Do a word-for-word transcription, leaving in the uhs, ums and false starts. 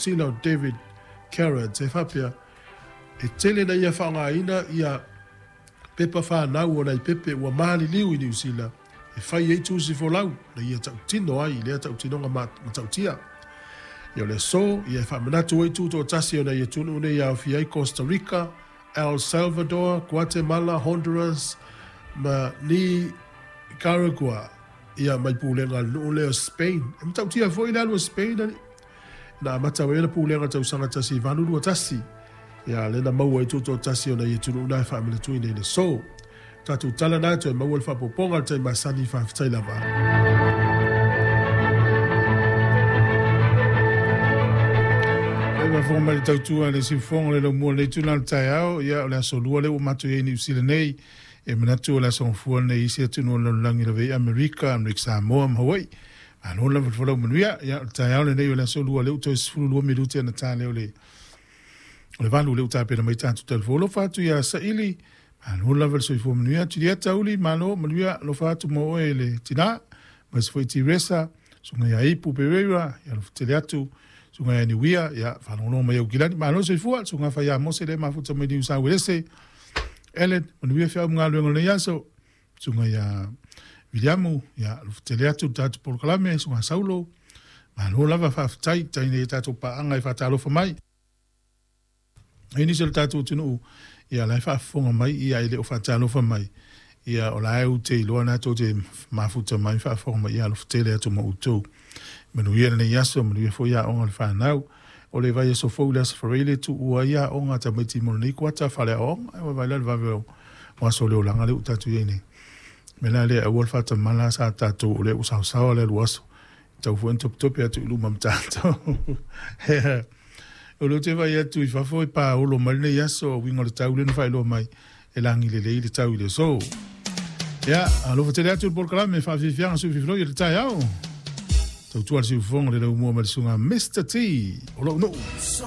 Sila o David Carrots e faapea e tele na ia faaaogaina ia pepa fanau o nai pepe ua maliliu i Niu Sila e fai ai tusi folau na ia tautino ai i lea tautinoga matautia. Ia o le aso ia e faamanatu ai tutoatasi o nai atunuu nei e aofia ai Costa Rica, El Salvador, Guatemala, Honduras ma Nicaragua ia mai pulega a le nuu lea o Spain. E matautia foi le alu a Spain alii na amata mai ai le pulega tausaga tasi valu lua tasi. Ia lea na maua ai tutoatasi o nai atunuu na e faamanatuina i le aso. Tatou tala na toe maua le faaopoopoga o le taimi masani faafetai lava. E faafofoga mai le tautua le siufofoga o le laumua o lenei itula o le taeao, ia o le aso lua lea ua matou i ai i Niu Sila nei. E manatu o le aso gafua lenei i isi atunuu o le lalolagi lava i Amerika, Amerika Samoa ma Hawaii. Malo lava le folau manuia. Ia o le taeao lenei o le aso lua lea ua toe sefulu lua minute ona ta lea o le o le valu lea ua tapena mai tatou talafou. Alofa atu ia Saili, malo lava le soifua manuia. Julieta Uli, malo manuia, alofa atu mo oe i le tina. Aemaise foi Tiresa, susuga ia Ipu Pereira, ia alofa tele atu. Susuga ia Niuia, ia faalogologo mai Aukilani, malo le soifua. Susuga Faia Mose lea e mafuta mai Niu Sauelese. Ellen, manuia feau ma galuega o lenei aso. Susuga ia Viliamu, ia alofa tele atu le tatou polokalame. Susuga Saulo, malo lava faafetai tai nei tatou paaga e faatalofa mai. E nisi o le tatou atunuu, ia la e faafofoga mai, ia e le o faatalofa mai, ia o la e ute iloa na tou te mafuta mai faafofoga mai, ia alofa tele atu ma outou. Manuia lenei aso, manuia foi aoga o le fanau. O le vaiaso fou le Aso Faraile e tuua ai aoga a tamaiti mo lenei kuata faleaoaoga. E vaavaai la le vave o aso o le olaga lea ua tatou i ai nei. O le mea la lea, aua le faatamala sa tatou o lea ua saosaoa le alu aso. E tatau foi ona topetope atu i luma ma tatou. O lea ou te vaai atu i fafo e paolo mai lenei aso, uiga o le tau lea na faailoa mai e lagi lelei le tau i le aso. Ia, alofa tele atu le polokalame faafiafiaga sui fifiloi o le taeao. Tautua le siufofoga le laumua ma le susuga Mister T o lou nuu.